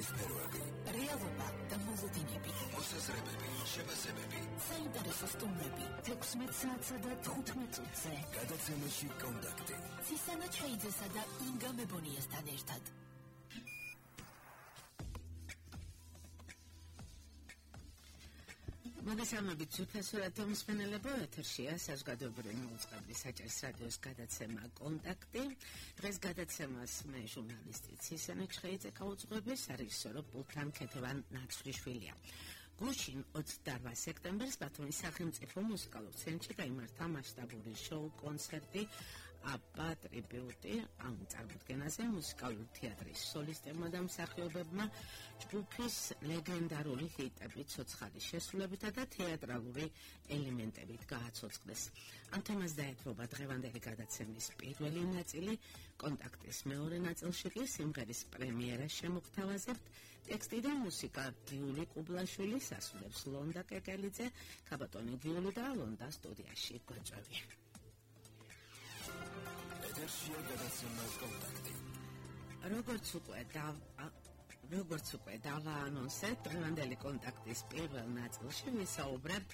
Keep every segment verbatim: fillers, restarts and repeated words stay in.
გადაცემის სფეროები, რეალობა და მოლოდინები, მოსაზრებები, შეფასებები, საინტერესო სტუმრები, თექვსმეტ საათსა და თხუთმეტ წუთზე. გადაცემაში კონტაქტი. სისანა ჩაიძესა და ინგა მებონიასთან ერთად. მოგესალმებით ძვირფასურად მომსმენელებო, ეთერშია საზოგადოებრივი მოუწყებლის საჭირო რადიოს გადაცემა კონტაქტი. დღეს გადაცემას მე ჟურნალისტი სისანა ჩხეიძე გაუძღვები, სარეჟისორო პულთან ქეთევან ნაცვლიშვილია. გუშინ ოცდაოთხ სექტემბერს ბათუმის სახელმწიფო მუსიკალურ ცენტრში გაიმართა მასშტაბური შოუ კონცერტი აბა ტრიბიუტი ამ წარმოდგენაზე მუსიკალური თეატრის სოლისტებმა და მსახიობებმა ჯგუფის ლეგენდარული ჰიტები ცოცხალი შესრულებითა და თეატრალური ელემენტებით გააცოცხლეს. ამ თემას დაეთმობა დღევანდელი გადაცემის პირველი ნაწილი, კონტაქტის მეორე ნაწილში კი სიმღერის პრემიერას შემოგთავაზებთ. ტექსტი და მუსიკა გიული კუბლაშვილი, ასრულებს ლონდა კეკელიძე, ქაბატონი გიული და ლონდა სტუდიაში გვეწვევი. ეთერშია გადაცემა კონტაქტი. როგორც უკვე და როგორც უკვე დავაანონსეთ, დღევანდელი კონტაქტის პირველ ნაწილში ვისაუბრებთ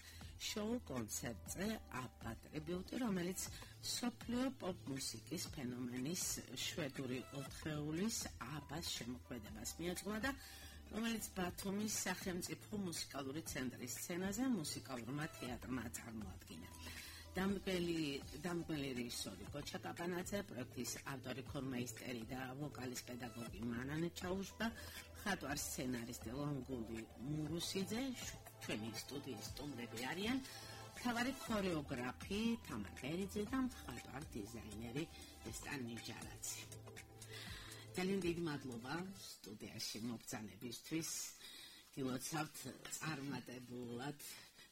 შოუ კონცერტზე აბა ტრიბიუტი, რომელიც მსოფლიო პოპ მუსიკის ფენომენის შვედური ოთხეულის აბას შემოქმედებას მიეძღვნა და რომელიც ბათუმის სახელმწიფო მუსიკალური ცენტრის სცენაზე მუსიკალურმა თეატრმა წარმოადგინა. დამდგმელი დამდგმელი რეჟისორი გოჩა კაპანაძე, პროექტის ავტორი ქორმაისტერი და ვოკალის პედაგოგი მანანე ჩაუშბა, მხატვარ სცენარისტი ლონგული მურუსიძე, ჩვენი სტუდიის სტუმრები არიან, მთავარი ქორეოგრაფი თამარ ყერიძე და მხატვარ დიზაინერი ესტან ნიჟარაძე. ძალიან დიდი მადლობა სტუდიაში მობრძანებისთვის. გილოცავთ წარმატებულად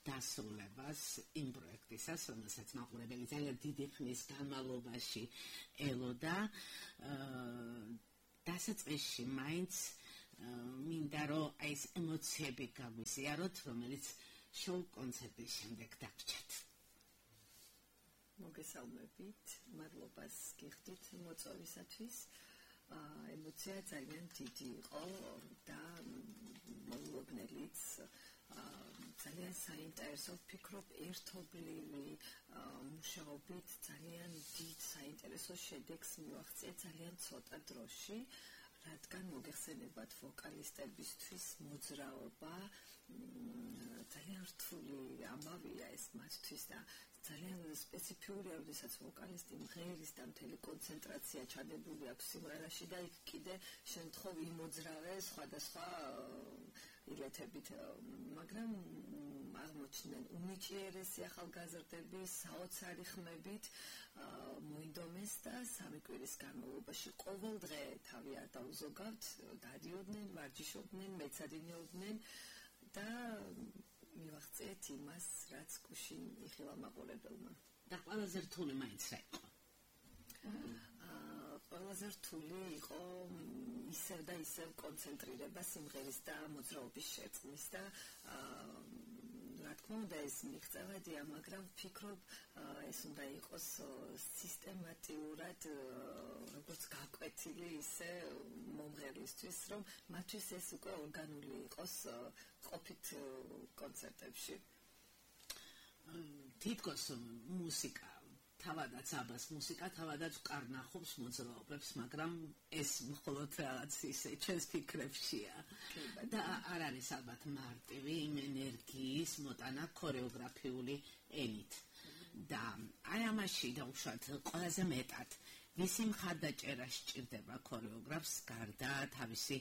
დასრულებას იმ პროექტისას, რომელსაც მაყურებელი ძალიან დიდი ხნის განმავლობაში ელოდა. დასაწყისში მაინც მინდა რომ აი ეს ემოციები გაგვიზიაროთ, რომელიც შოუ კონცერტის შემდეგ დაგჭირთ. მოგესალმებით, მადლობას გიხდით მოწვევისათვის. ემოცია ძალიან დიდი იყო და მოულოდნელიც. ძალიან საინტერესო, ვფიქრობ, ერთობლივი მუშაობით ძალიან დიდ საინტერესო შედეგს მივაღწია ძალიან ცოტა დროში, რადგან მოგეხსენებათ ვოკალისტებისთვის მოძრაობა ძალიან რთული ამბავია ეს მათთვის და ძალიან სპეციფიურია, როდესაც ვოკალისტი მღერის და მთელი კონცენტრაცია ჩადებული აქვს სიმღერაში და იქ კიდე შემთხვევ იმოძრავე სხვადასხვა ილეთებით, მაგრამ აღმოჩნდნენ უნიჭიერესი ახალგაზრდები საოცარი ხმებით მოინდომეს და სამი კვირის განმავლობაში ყოველ დღე თავი არ დაუზოგავთ, დადიოდნენ, ვარჯიშობდნენ, მეცადინეობდნენ და მივაღწიეთ იმას, რაც გუშინ იხილა მაყურებელმა. და ყველაზე რთული მაინც რა იყო? ყველაზე რთული იყო ისევ და ისევ კონცენტრირება სიმღერის და მოძრაობის შერწყმის და რა თქმა უნდა ეს მიღწევადია, მაგრამ ვფიქრობ ეს უნდა იყოს სისტემატიურად როგორც გაკვეთილი ისე მომღერლისთვის, რომ მათთვის ეს უკვე ორგანული იყოს ყოფით კონცერტებში. თითქოს მუსიკა თავადაც აბას მუსიკა თავადაც უკარნახობს მოძრაობებს, მაგრამ ეს მხოლოდ რაღაც ისე ჩვენს ფიქრებშია და არ არის ალბათ მარტივი იმ ენერგიის მოტანა ქორეოგრაფიული ენით. და აი ამაში დაუშვათ ყველაზე მეტად ვისი მხარდაჭერა სჭირდება ქორეოგრაფს გარდა თავისი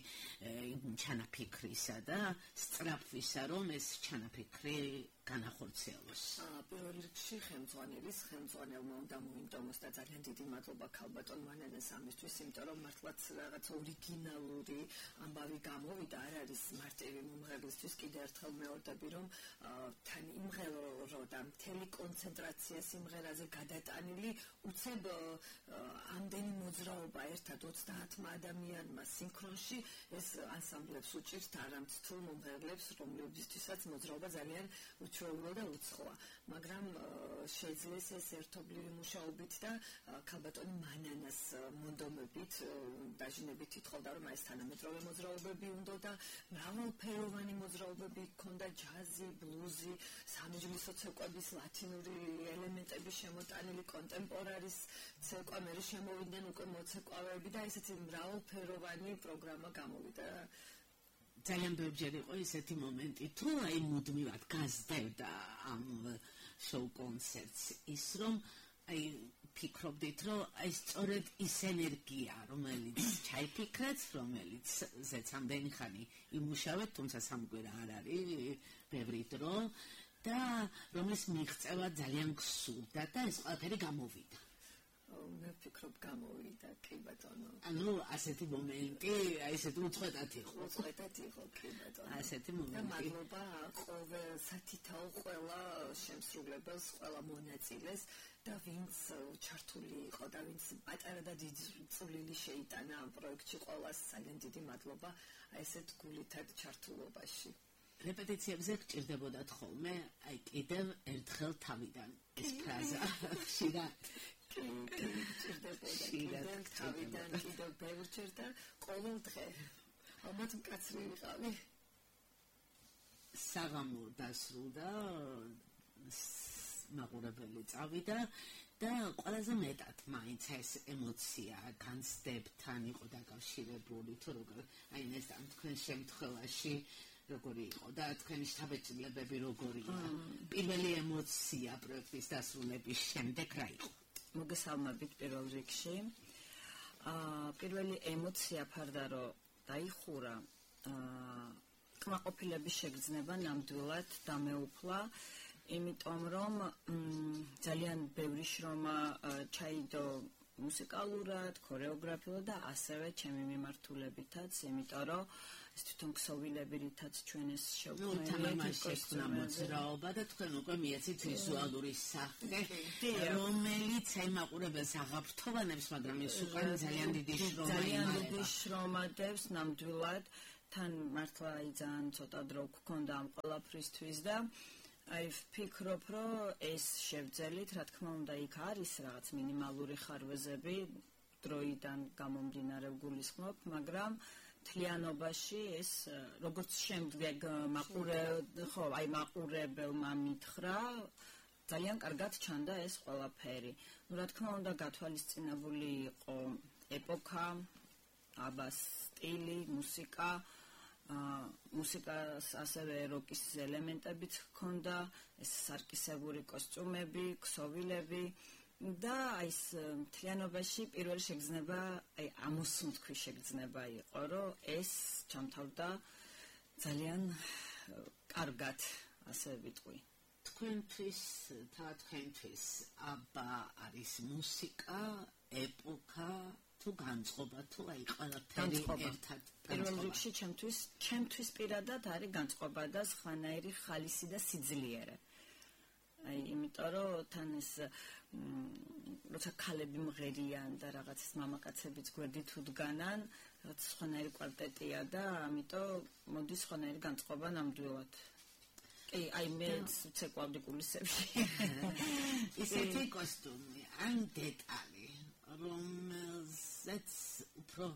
ჩანაფიქრისა და სწრაფვისა, რომ ეს ჩანაფიქრი განახორციელოს. პირველ რიგში ხელმძღვანელის ხელმძღვანელმა უნდა მოინდომოს და ძალიან დიდი მადლობა ქალბატონ მანანეს ამისთვის, იმიტომ რომ მართლაც რაღაც ორიგინალური ამბავი გამოვიდა, არ არის მარტივი მომღერლისთვის. კიდევ ერთხელ მეორდები, რომ თან იმღერო და მთელი კონცენტრაცია სიმღერაზე გადატანილი, უცებ ამდენი მოძრაობა ერთად ოცდაათმა ადამიანმა სინქრონში ეს ანსამბლებს უჭირთ არამც თუ მომღერლებს, რომლებისთვისაც მოძრაობა ძალიან უჩვეულო და უცხოა, მაგრამ შეძლეს ეს ერთობლივი მუშაობით და ქალბატონი მანანას მონდომებით დაჟინებით ითხოვდა, რომ ეს თანამედროვე მოძრაობები უნდა და მრავალფეროვანი მოძრაობები ჰქონდა, ჯაზი, ბლუზი, სამეჯლისო ცეკვების ლათინური ელემენტები შემოტანილი, კონტემპორარის ცეკვა, მე შემოვიდნენ უკვე მოცეკვავეები და ესეთი მრავალფეროვანი პროგრამა გამოვიდა. ძალიან ბევრჯერ იყო ესეთი მომენტი, თუ აი მუდმივად გაზრდებდა ამ შოუ კონცერტს ის, რომ აი ფიქრობდით, რომ აი სწორედ ის ენერგია, რომელიც ჩაიფიქრეთ, რომელიც ზეც ამდენი ხანი იმუშავეთ, თუმცა სამკვირა არ არის ბევრი დრო და რომლის მიღწევა ძალიან გსურდა და ეს ყველაფერი გამოვიდა. მე ვფიქრობ გამოვიდა, კი ბატონო. ანუ ასეთი მომენტი, აი ესეთი უწყვეტად იყო. უწყვეტად იყო, კი ბატონო. ასეთი მომენტი. მადლობა ყოველ სათითაო ყველა შემსრულებელს, ყველა მონაწილეს და ვინც ჩართული იყო და ვინც პატარა და დიდი წვლილი შეიტანა ამ პროექტში, ყველას ძალიან დიდი მადლობა აი ესეთ გულითად ჩართულობაში. რეპეტიციებზე გჭირდებოდათ ხოლმე, აი კიდევ ერთხელ თავიდან ეს ფრაზა ხშირად ჭირდებოდა თავიდან კიდევ ბევრჯერ და ყოველ დღე ალბათ მკაცრი ვიყავი. საღამო დასრულდა, მაყურებელი წავიდა და ყველაზე მეტად მაინც ეს ემოცია განცდებთან იყო დაკავშირებული, თუ როგორ აი ეს ამ თქვენ შემთხვევაში როგორი იყო და თქვენი შთაბეჭდილებები როგორია. პირველი ემოცია პროექტის დასრულების შემდეგ რა იყო? მოგესალმებით პირველ რიგში. აა პირველი ემოცია ფარდა რომ დაიხურა, აა კმაყოფილების შეგრძნება ნამდვილად დამეუფლა, იმიტომ რომ ძალიან ბევრი შრომა ჩაიდო მუსიკალურად, ქორეოგრაფიულად და ასევე ჩემი მიმართულებითაც, იმიტომ რომ ეს თვითონ ქსოვილები რითაც ჩვენ ეს შევქმნით მოძრაობა და თქვენ უკვე მიეცით ვიზუალური სახე, რომელიც აი მაყურებელს აღაფრთოვანებს, მაგრამ ის უკან ძალიან დიდი შრომა ძალიან დიდი შრომა დევს ნამდვილად, თან მართლა აი ძალიან ცოტა დრო გქონდა ამ ყველაფრისთვის და აი ვფიქრობ, რომ ეს შევძელით, რა თქმა უნდა, იქ არის რაღაც მინიმალური ხარვეზები დროიდან გამომდინარე გულისხმობ, მაგრამ თლიანობაში ეს როგორც შემდეგ მაყურე ხო აი მაყურებელმა მითხრა ძალიან კარგად ჩანდა ეს ყველაფერი. ნუ რა თქმა უნდა გათვალისწინებული იყო ეპოქა, აბას სტილი, მუსიკა, მუსიკას ასევე როკის ელემენტებიც ჰქონდა, ეს სარკისებური კოსტიუმები, ქსოვილები და აი ეს მთლიანობაში პირველი შეგრძნება, აი ამოსუნთქვის შეგრძნება იყო, რომ ეს ჩამთავრდა ძალიან კარგად, ასე ვიტყვი. თქვენთვის, თქვენთვის აბა არის მუსიკა, ეპოქა თუ განწყობა, თუ აი ყველაფერი ერთად პირველ რიგში ჩემთვის, ჩემთვის პირადად არის განწყობა და სხვანაირი ხალისი და სიძლიერე. აი, იმიტომ რომ თან ეს როცა ქალები მღერიან და რაღაც მამაკაცებიც გვერდით უდგანან, რაღაც სხვანაირი კვარტეტია და ამიტომ მოდის სხვანაირი განწყობა ნამდვილად. კი, აი მე ცეკვავდი კულისებში. ისეთი კოსტუმი, ან დეტალი, რომელზეც უფრო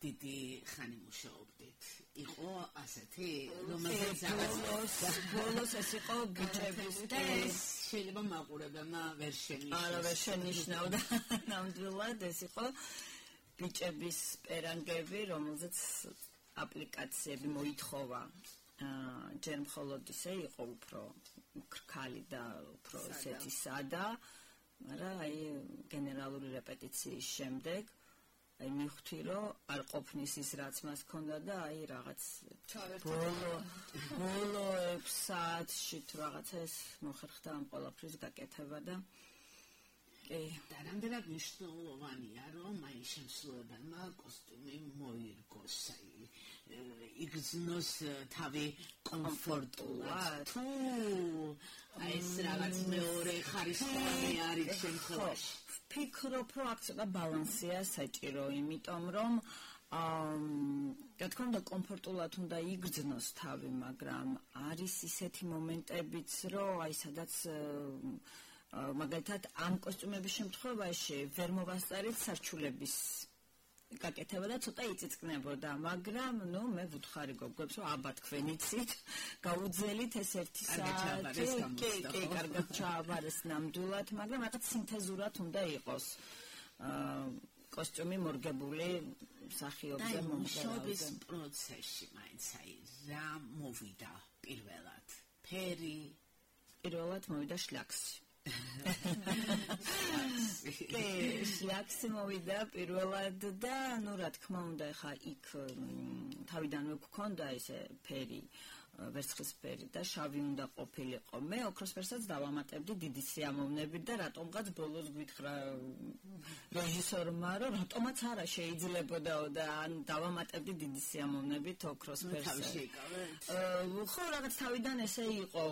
დიდი ხანი მუშაობდით. იყო ასეთი, რომელზეც ბოლოს ბოლოს ეს იყო ბიჭების და ეს შეიძლება მაყურებელმა ვერ შენიშნოს. არა, ვერ შენიშნავდა. ნამდვილად ეს იყო ბიჭების პერანგები, რომელზეც აპლიკაციები მოითხოვა. ჯერ მხოლოდ ისე იყო უფრო ქრქალი და უფრო ესეთი სადა, მაგრამ აი გენერალური რეპეტიციის შემდეგ აი მივხვდი რომ არ ყოფნის ის რაც მას ჰქონდა და აი რაღაც ბოლო ბოლო ექვს საათში თუ რაღაცა ეს მოხერხდა ამ ყველაფრის გაკეთება და კი და რამდენად მნიშვნელოვანია რომ აი შემსრულებელმა კოსტუმი მოირგოს აი იგრძნოს თავი კომფორტულად თუ აი ეს რაღაც მეორე ხარისხოვანი არის შემთხვევაში ვფიქრობ, რომ აქ ცოტა ბალანსია საჭირო, იმიტომ რომ აა რა თქმა უნდა კომფორტულად უნდა იგრძნოს თავი, მაგრამ არის ისეთი მომენტებიც, რომ აი სადაც მაგალითად ამ კოსტიუმების შემთხვევაში ვერ მოვასწარეთ სარჩულების გაკეთება და ცოტა იწიწკნებოდა, მაგრამ ნუ მე ვუთხარი გოგოებს, რომ აბა თქვენ იცით, გაუძელით ეს ერთი საათი, კი, კი, კარგად ჩააბარეს ნამდვილად, მაგრამ რაღაც სინთეზურად უნდა იყოს. აა კოსტიუმი მორგებული მსახიობზე მომღერალზე. პროცესში მაინც აი რა მოვიდა პირველად? ფერი, პირველად მოვიდა შლაქსი. კი, შლაქსი მოვიდა პირველად და ნუ რა თქმა უნდა, ხა იქ თავიდანვე გქონდა ესე ფერი, ვერცხლისფერი და შავი უნდა ყოფილიყო. მე ოქროს ფერსაც დავამატებდი დიდი სიამოვნებით და რატომღაც ბოლოს გვითხრა რეჟისორმა, რომ რატომაც არა შეიძლებოდაო და ან დავამატებდი დიდი სიამოვნებით ოქროს ფერს. ხო, რაღაც თავიდან ესე იყო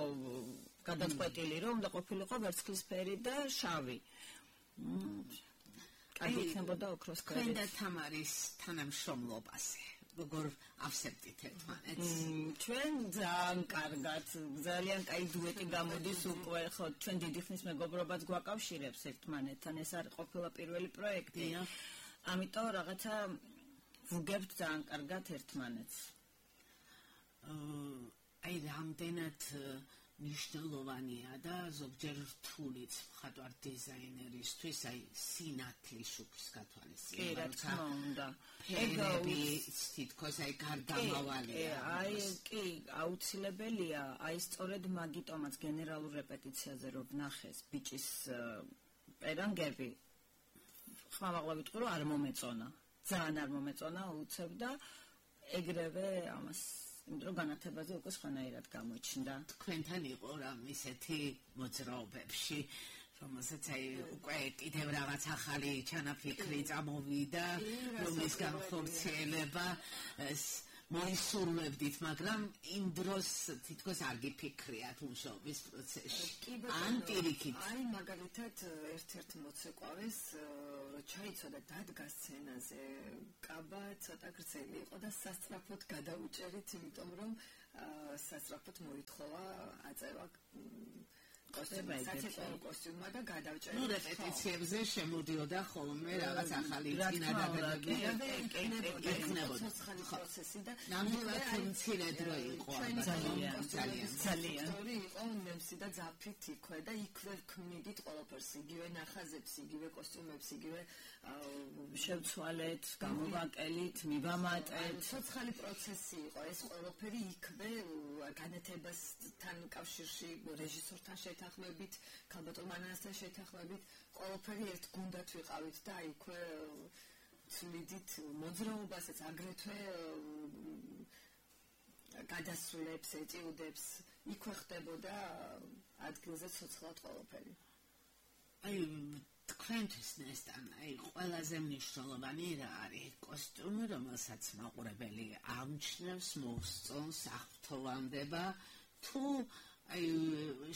გადაწყვეტილი, რომ უნდა ყოფილიყო ვერცხლისფერი და შავი. კარგი იქნებოდა ოქროს ფერი. თქვენ და თამარის თანამშრომლობაზე როგორ ავსებდით ერთმანეთს? ჩვენ ძალიან კარგად, ძალიან კაი დუეტი გამოდის უკვე, ხო, ჩვენ დიდი ხნის მეგობრობაც გვაკავშირებს ერთმანეთთან, ეს არის ყოფილა პირველი პროექტი. ამიტომ რაღაცა ვუგებთ ძალიან კარგად ერთმანეთს. აი რამდენად მნიშვნელოვანია და ზოგჯერ რთულიც მხატვარ დიზაინერისთვის აი სინათლის შუქის გათვალისწინება. კი, რა თქმა უნდა. ფერები თითქოს აი გარდამავალია. აი კი, აუცილებელია, აი სწორედ მაგიტომაც გენერალურ რეპეტიციაზე რო ვნახეს ბიჭის პერანგები, ხმამაღლა ვიტყვი რომ არ მომეწონა. ძალიან არ მომეწონა უცებ და ეგრევე ამას იმიტომ განათებაზე უკვე სხვანაირად გამოჩნდა. თქვენთან იყო რამ ისეთი მოძრაობებში, რომელსაც აი უკვე კიდევ რაღაც ახალი ჩანაფიქრი წამოვიდა, რომლის განხორციელება მოისურვებდით, მაგრამ იმ დროს თითქოს არ გიფიქრიათ მუშაობის პროცესში. ან პირიქით. აი მაგალითად ერთ-ერთ მოცეკვავეს ჩაიცოდა დადგა სცენაზე, კაბა ცოტა გრძელი იყო და სასწრაფოდ გადაუჭერით, იმიტომ რომ სასწრაფოდ მოითხოვა აწევა კოსტიუმმა და გადავჭერეთ. ნუ რეპეტიციებზე შემოდიოდა ხოლმე რაღაც ახალი წინადადებები და ეკნებოდა ცოცხალი პროცესი და ნამდვილად მცირე დრო იყო ძალიან ძალიან ძალიან იყო ნემსი და ძაფით იქვე და იქვე ქმნიდით ყველაფერს, იგივე ნახაზებს, იგივე კოსტიუმებს, იგივე შევცვალეთ, გამოვაკელით, მივამატეთ. ცოცხალი პროცესი იყო ეს ყველაფერი იქვე განათებასთან კავშირში რეჟისორთან შეთანხმებით, ქალბატონ მანანასთან შეთანხმებით, ყველაფერი ერთ გუნდად ვიყავით და იქვე ცვლიდით მოძრაობასაც, აგრეთვე გადასვლებს, ეტიუდებს, იქვე ხდებოდა ადგილზე ცოცხლად ყველაფერი. აი თქვენთვის ნესტან, აი ყველაზე მნიშვნელოვანი რა არის კოსტიუმი, რომელსაც მაყურებელი ამჩნევს, მოსწონს, აღფრთოვანდება, თუ აი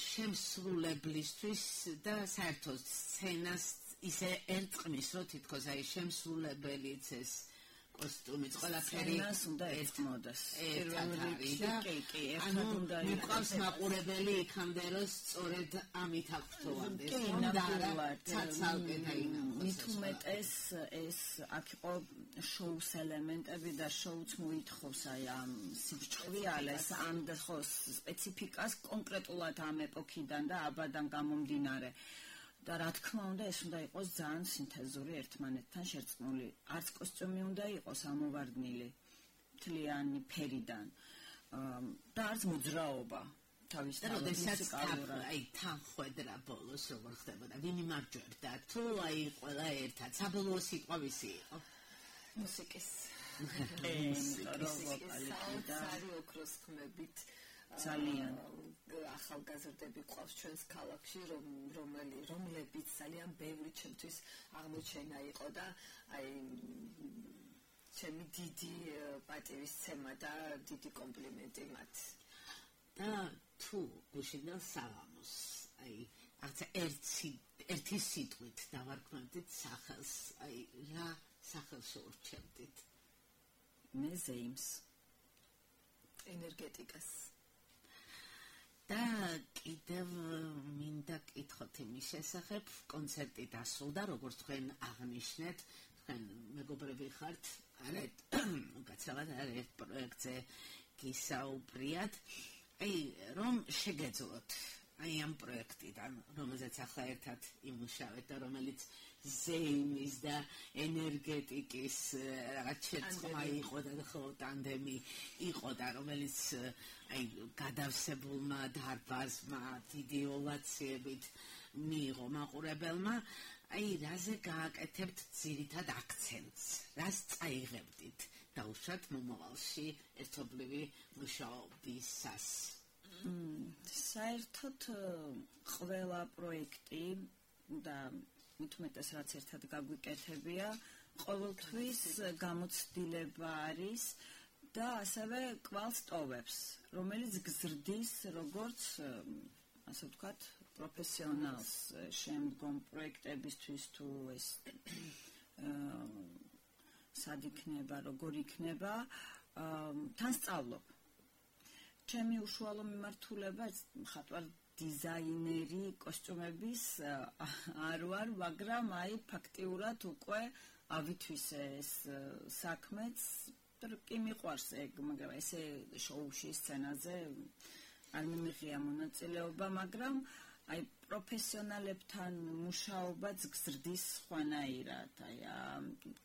შემსრულებლისთვის და საერთოდ სცენას ისე ერწყმის, რომ თითქოს აი შემსრულებელიც ეს კოსტიუმიც ყველაფერი სცენას უნდა ერთმოდეს. პირველ რიგში კი, კი, ერთად უნდა იყოს. მიყვავს მაყურებელი იქამდე, რომ სწორედ ამით აღფრთოვანდეს. კი, ნამდვილად. ცალკე დაინახოს. მით უმეტეს ეს აქ იყო შოუს ელემენტები და შოუც მოითხოვს აი ამ სიბრჭყვილეს, ამ ხო სპეციფიკას კონკრეტულად ამ ეპოქიდან და აბადან გამომდინარე. და რა თქმა უნდა ეს უნდა იყოს ძალიან სინთეზური ერთმანეთთან შერწყმული. არც კოსტიუმი უნდა იყოს ამოვარდნილი მთლიანი ფერიდან და არც მოძრაობა თავის თავისთავად. აი თანხვედრა ბოლოს როგორ ხდებოდა, ვინ იმარჯვებდა, თუ აი ყველა ერთად საბოლოო სიტყვა ვისი იყო? მუსიკის ვოკალი და ოქროს ხმებით ძალიან ახალგაზრდები ყავს ჩვენს ქალაქში, რომელი რომლებიც ძალიან ბევრი ჩემთვის აღმოჩენა იყო და აი ჩემი დიდი პატივისცემა და დიდი კომპლიმენტი მათ. და თუ გუშინდელ სალამოს, აი რაღაცა ერთი ერთი სიტყვით დავარქმევდით სახელს, აი რა სახელს ურჩევდით? მე ზეიმს ენერგეტიკას და კიდევ მინდა კითხოთ იმის შესახებ, კონცერტი დასრულდა, როგორც თქვენ აღნიშნეთ, თქვენ მეგობრები ხართ, არეთ უკაცრავად არეთ პროექტზე გისაუბრიათ, აი რომ შეგეძლოთ აი ამ პროექტიდან, რომელზეც ახლა ერთად იმუშავეთ და რომელიც ზეიმის და ენერგეტიკის რაღაც შეწყმა იყო და ხო ტანდემი იყო და რომელიც აი გადავსებულმა დარბაზმა დიდი ოვაციებით მიიღო მაყურებელმა, აი რაზე გააკეთებთ ძირითად აქცენტს, რას წაიღებდით დაუშვათ მომავალში ერთობლივი მუშაობისას? საერთოდ ყველა პროექტი და მithumetes რაც ერთად გაგვიკეთებია, ყოველთვის გამოცდილება არის და ასევე კვალს ტოვებს, რომელიც გზრდის როგორც ასე ვთქვათ, პროფესიონალს შემდგომ პროექტებისთვის თუ ეს სად იქნება, როგორ იქნება, თან სწავლობ. ჩემი უშუალო მიმართულება მხატვარ დიზაინერი კოსტიუმების არ ვარ, მაგრამ აი ფაქტიურად უკვე ავითვისე ეს საქმეც, კი მიყვარს ეგ, მაგრამ ესე შოუში სცენაზე არ მიმიღია მონაწილეობა, მაგრამ აი პროფესიონალებთან მუშაობაც გზრდის სხვანაირად. აი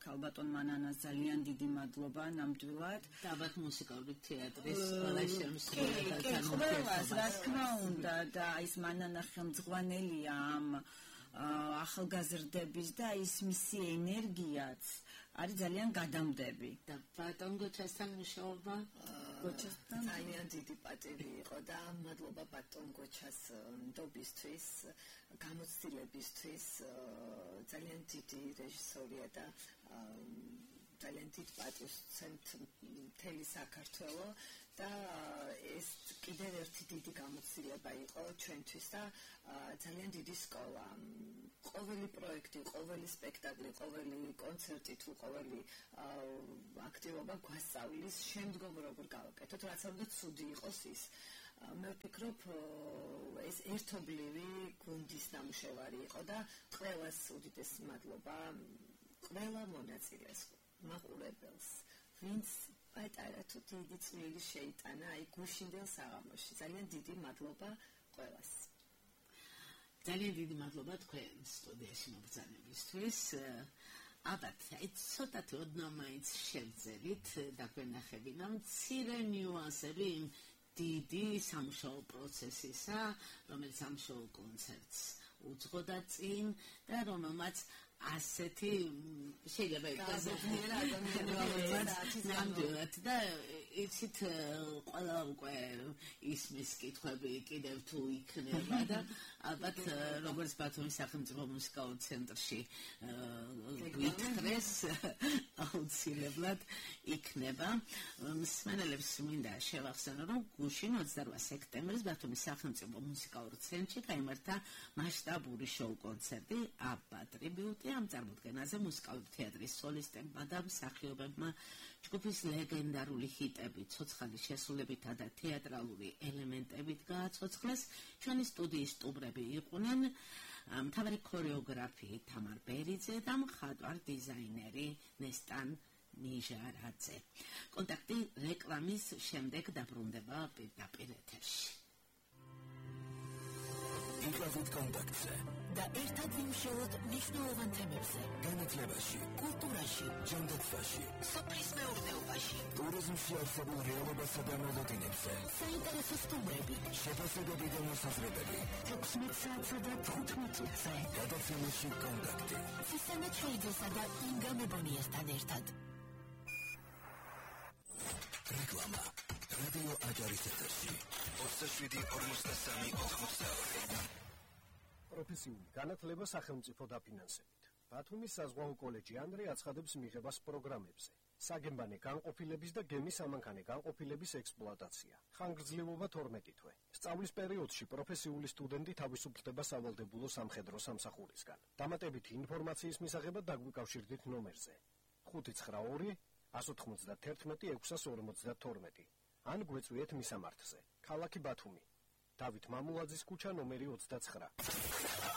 ქალბატონ მანანას ძალიან დიდი მადლობა ნამდვილად. დაბათ მუსიკალური თეატრის ყველა შემსრულებელთან ყველას, რა თქმა უნდა, და ის მანანა ხელმძღვანელია ამ ახალგაზრდების და ის მისი ენერგიაც არის ძალიან გადამდები. და ბატონ გოჩასთან მუშაობა გოჩასთან ძალიან დიდი პატივი იყო და მადლობა ბატონ გოჩას ნდობისთვის, გამოცდილებისთვის, ძალიან დიდი რეჟისორია და ძალიან დიდ პატივს სცემთ მთელი საქართველო და ეს კიდევ ერთი დიდი გამოცდილება იყო ჩვენთვის და ძალიან დიდი სკოლა. ყოველი პროექტი, ყოველი სპექტაკლი, ყოველი კონცერტი თუ ყოველი აქტივობა გვასწავლის შემდგომ როგორ გავაკეთოთ, რაც უნდა ცუდი იყოს ის. მე ვფიქრობ, ეს ერთობლივი გუნდის ნამუშევარი იყო და ყველას უდიდესი მადლობა, ყველა მონაწილეს, მაყურებელს, ვინც პატარა თუ დიდი წვლილი შეიტანა აი გუშინდელ საღამოში. ძალიან დიდი მადლობა ყველას. ძალიან დიდი მადლობა თქვენ სტუდიაში მობრძანებისთვის. ალბათ, აი ცოტათი ოდნავ მაინც შევძელით დაგვენახებინა მცირე ნიუანსები იმ დიდი სამუშაო პროცესისა, რომელიც სამუშაო კონცერტს უძღოდა წინ და რომელმაც ასეთი შეიძლება გაზრდილი ადამიანებიც ნამდვილად და იცით ყველა უკვე ისმის კითხვები კიდევ თუ იქნება და ალბათ როგორც ბათუმის სახელმწიფო მუსიკალურ ცენტრში გვითხრეს აუცილებლად იქნება. მსმენელებს მინდა შევახსენო, რომ გუშინ ოცდარვა სექტემბრის ბათუმის სახელმწიფო მუსიკალურ ცენტრში გაიმართა მასშტაბური შოუ კონცერტი აბა ტრიბიუტი ამ წარმოდგენაზე მუსიკალური თეატრის სოლისტებმა და მსახიობებმა ჯგუფის ლეგენდარული ჰიტები ცოცხალი შესრულებითა და თეატრალური ელემენტებით გააცოცხლეს. ჩვენი სტუდიის სტუმრები იყვნენ მთავარი ქორეოგრაფი თამარ ბერიძე და მხატვარ დიზაინერი ნესტან ნიჟარაძე. კონტაქტი რეკლამის შემდეგ დაბრუნდება პირდაპირ ეთერში. იგავით კონტაქტზე და ერთად ვიმუშაოთ მნიშვნელოვან თემებზე. განათლებაში, კულტურაში, ჯანდაცვაში, სოფლის მეურნეობაში, ტურიზმში არსებულ რეალობასა და მოლოდინებზე, საინტერესო სტუმრები, შეფასებები და მოსაზრებები. ექვსმეტ საათსა და თხუთმეტ წუთზე. გადაცემაში კონტაქტი. სისამე ჩხეიძესა და ინგა მებონიასთან ერთად. რეკლამა. რადიო აჯარის ეთერში. ოცდაშვიდი ორმოცდასამი ოთხმოცდაორი. პროფესიული განათლება სახელმწიფო დაფინანსებით. ბათუმის საზღვაო კოლეჯი ანდრე აცხადებს მიღებას პროგრამებზე. საგემბანე განყოფილების და გემის ამანქანე განყოფილების ექსპლუატაცია. ხანგრძლივობა თორმეტი თვე. სწავლის პერიოდში პროფესიული სტუდენტი თავისუფლდება სავალდებულო სამხედრო სამსახურისგან. დამატებითი ინფორმაციის მისაღებად დაგვიკავშირდით ნომერზე ხუთი ცხრა ორი one ninety-one six forty-two ან გვეწვიეთ მისამართზე. ქალაქი ბათუმი. დავით მამულაძის ქუჩა ნომერი ოცდაცხრა.